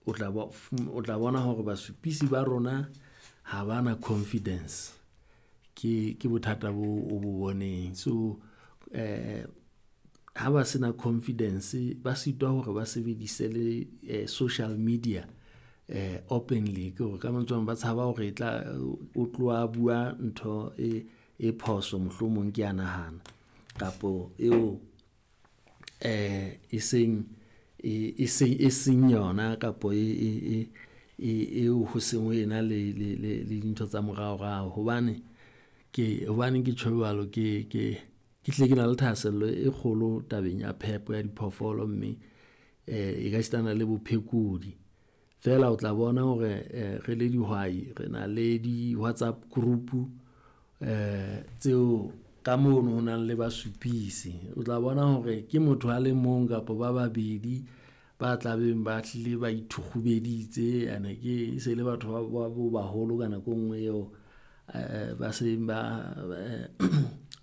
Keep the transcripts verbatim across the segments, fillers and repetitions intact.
o tla o tla bona hore basupisi ba rona ha bana confidence. Ke ke bothata bo o bo boneng. So eh ha ba sena confidence, ba sitwa hore ba sebedise le eh, social media eh openly. Ke hore ka mantswe a mang ba tshaba hore e tla o tloha bua ntho e e phoso mohlomong ke a nahana kapo eo eh e seng e e seng e seng yona kapo e e e e eo ho seng ho ena le le le le dintho tsa moraorao. Hobane ke hobaneng ke tjho jwalo, ke ke ke hlile ke na le thahasello e kgolo tabeng ya phepo ya diphoofolo, mme eh e ka sitana le bophekodi. Feela o tla bona hore eh re le dihwai, re na le di-WhatsApp group eh tseo ka mono ho nang le basupisi. O tla bona hore ke motho a le mong kapa ba babedi ba tlabeng ba hlile ba ithukgubeditse ene ke e se le batho ba ba bo baholo ka nako e nngwe eo eh ba seng ba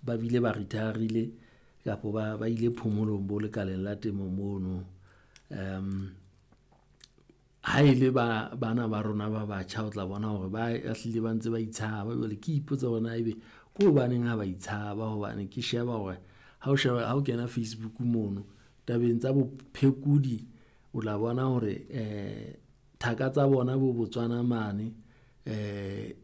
ba bile ba retire-rile kapo ba ba ile phomolong bo lekaleng la temo mono. Ha e le ba bana ba rona ba batjha, o tla bona hore ba hlile ba ntse ba itshaba. Jwale ke ipotsa hore na ebe ke hobaneng ha ba itshaba hobane ke sheba hore ha o sheba ha o kena Facebook mono tabeng tsa bophekodi, o tla bona hore eh thaka tsa bona bo Botswana mane eh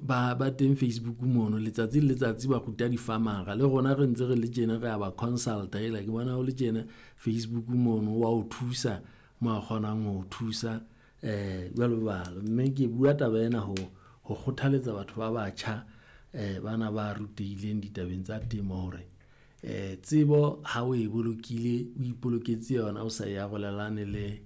ba ba teng Facebook mono letsatsi le letsatsi ba ruta di-farmer-a le rona re ntse re le tjena re a ba consult-a ela ke bona ho le tjena Facebook mono wa o thusa mo a kgonang ho o thusa eh jwalo jwalo. Mme ke bua taba ena ho ho kgothaletsa batho ba batjha eh bana ba rutehileng ditabeng tsa temo hore eh tsebo ha o e bolokile, o ipoloketse yona, o sa e arolelane le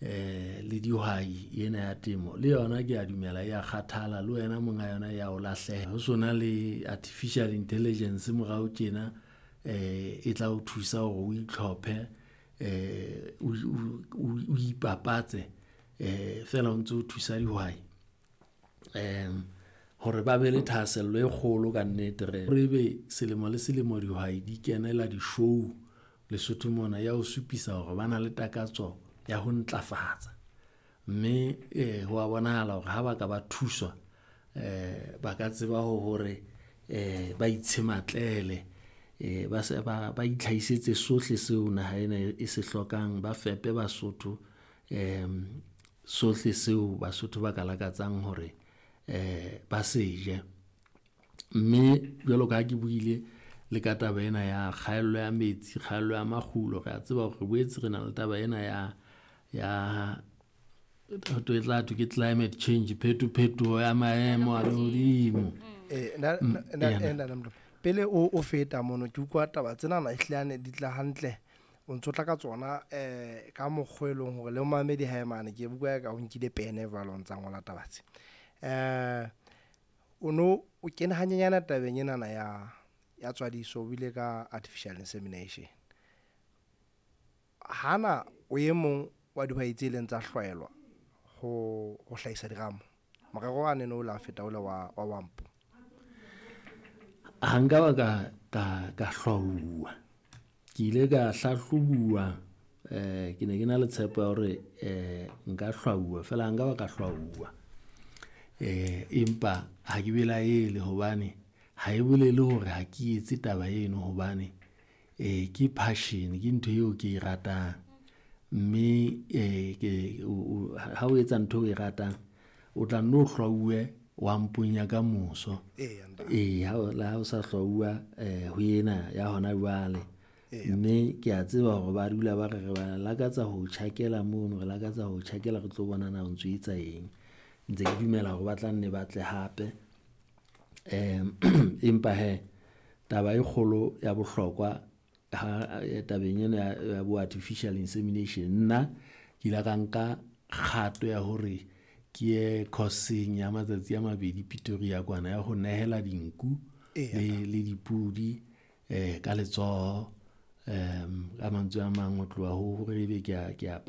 eh le dihwai ena ya temo. Le yona ke a dumela ya kgathala le wena monga yona ya o lahleha. Ho sona le artificial intelligence morao tjena eh e tla o thusa hore o itlhophe eh o o o ipapatse eh feela o ntso thusa dihwai hore ba be le thahasello e kgolo kannete. Re re ebe selemo le selemo dihwai di kenela di-show Lesotho mona ya ho supisa hore ba na le takatso ya ho ntlafatsa. Mme eh ho wa bonahala hore ha ba ka ba thuswa eh ba ka tseba hore eh ba itshematlela eh ba se ba ba itlhahisetse sohle seo naha ena e se hlokang, ba fepe Basotho sohle seo Basotho ba ka lakatsang hore eh ba se je. Mme jwalo ka ha ke buile le ka taba ena ya kgaello ya metsi, kgaello ya makgulo, re a tseba hore re boetse re na le taba ena ya ya ho thwe e tla thwe ke climate change, phetophetoho ya maemo a lehodimo. Eh, na- Mm, na- ena. eh, ntate Molopo, pele o o feta mono ke utlwa taba tsenana ehlile di tla hantle o ntso tla ka tsona eh ka mokgwa e leng hore le momamedi hae mane ke bua ka o nkile pene jwalo o ntsa ngola taba tse. Eh o no o kene hanyenyana tabeng enana ya ya tswadiso o buile ka artificial insemination. Hana o e mong wa dihwai tse ileng tsa hlwaelwa ho ho hlahisa diramo. Morero wa nene o la feta ole wa wa Wampo. Ha nka ba ka ka ka hlwauwa. Ke ile ka hlahlobuwa eh ke ne ke na le tshepo ya hore eh nka hlwauwa feela ha nka ba ka hlwauwa. Eh empa ha ke belaele hobane ha e bolele hore ha ke etse taba eno hobane eh ke passion, ke ntho eo ke e ratang. Mme eh ke o ha o etsa ntho eo o e ratang, o tla nno hlwauwe Wampong ya kamoso. Eya ntate. Ee, ha o le ha o sa hlwauwa eh ho ena ya hona jwale. Eya. Mme ke a tseba hore ba dula ba re re ba lakatsa ho tjhakela mono, re lakatsa ho tjhakela re tlo bona na o ntso etsa eng. Ntse ke dumela hore ba tla nne ba tle hape. Empa hee taba e kgolo ya bohlokwa ha tabeng ena ya ya bo artificial insemination, nna ke ile ka nka kgato ya hore ke ye course-eng ya matsatsi a mabedi Pretoria kwana ya ho nehela dinku Eya, le le dipudi eh ka letsoho. Ka mantswe a mang, ho tloha ho hore ebe ke a ke a .